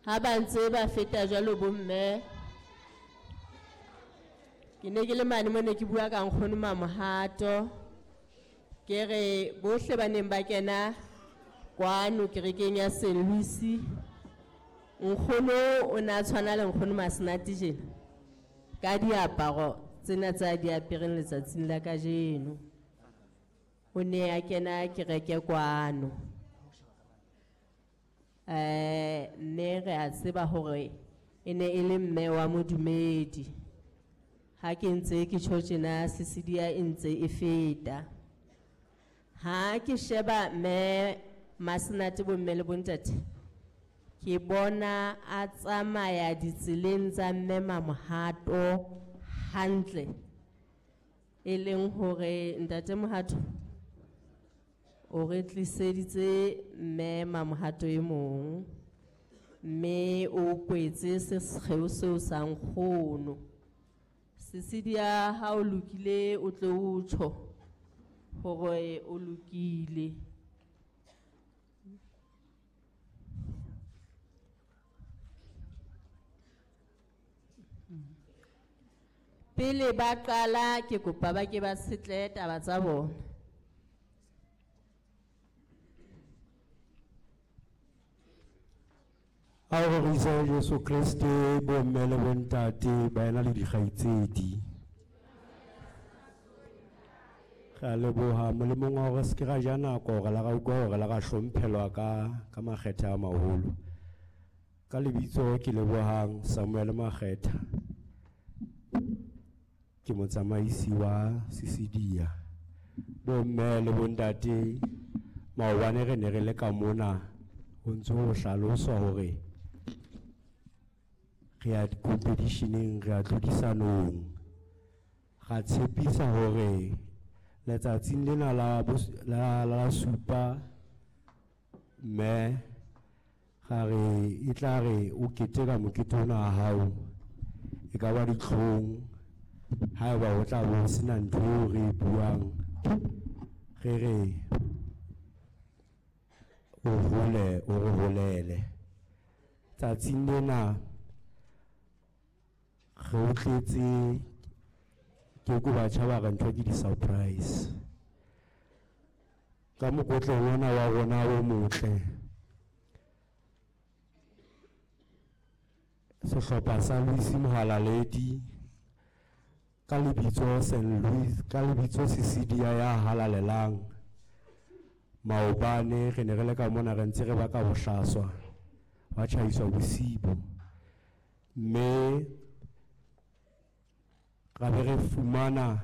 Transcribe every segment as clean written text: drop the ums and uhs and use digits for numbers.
Ha ba ntse ba feta jwalo bomme, ke ne ke le mane mo ne ke bua ka nkgono Mamohato. Ke re bohle ba neng ba kena kwano kerekeng ya St. Louis, nkgono o ne a tshwana le nkgono Masenate jena ka diaparo tsena tsa di apereng letsatsing la kajeno. O ne a kena kereke kwano. Mme re a tseba hore e ne e le mme wa modumedi. Ha ke ntse ke tjho tjena, Cecilia e ntse e feta. Ha ke sheba mme Masenate bomme le bontate, ke bona a tsamaya ditseleng tsa mme Mamohato hantle. E leng hore ntate Mohato o re tliseditse mme Mamohato e mong, mme o kwetse sekgeo seo sa nkgono. Cecilia, ha o lokile o tle o tjho hore o lokile. Pele ba qala ke kopa ba ke ba setle taba tsa bona. A re rorise Jesu Kreste, bomme le bontate, baena le dikgaitsedi. Re a leboha molemong wa hore se ke ra ja nako, re la ra utlwa hore la ra hlomphelwa ka makgethe a maholo. Ka lebitso ke lebohang Samuel Makgetha, ke motsamaisi wa Cecilia. Bomme le bontate, maobane re ne re le ka mona ho ntse ho hlaloswa hore re ya competitioneng, re ya tlhodisanong. Ra tshepisa hore letsatsing lena la supa mme ga re e tla re o keteka mokete ona wa hao, e ka ba ditlhong haeba o tla bo sena ntho eo re e buang, re re o hole, o re holele. Tsatsing lena re o tletse, ke ko batjha ba re ntho ke di-surprise. Ka mokotleng ona wa rona o motle, sehlopha sa Louis Mohalaledi ka lebitso Saint Louis, ka lebitso Cecilia ya halalelang. Maobane re ne re le ka mona re ntse re baka bohlaswa, ba tjhaiswa bosibu, mme ra be re fumana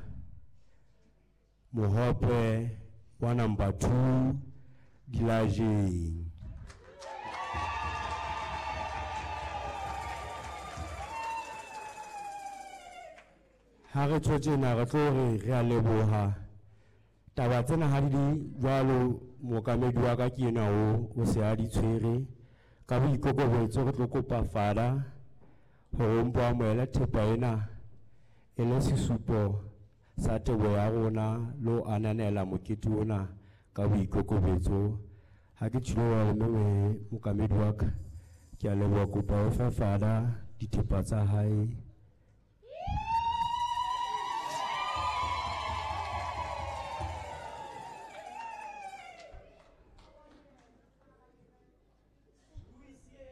mohope wa number 2 dilajeng. Ha re tjho tjena re tlo re re a leboha. Taba tsena ha di le jwalo, mookamedi wa ka ke enwa o se a di tshwere. Ka boikokobetso re tlo kopa Father hore o mpo amohele thepa ena e le sesupo sa teboho ya rona le ho ananela mokete ona ka boikokobetso. Ha ke tjhilo wa mme mookamedi wa ka, ke a leboha, kopa o fe Father dithepa tsa hae.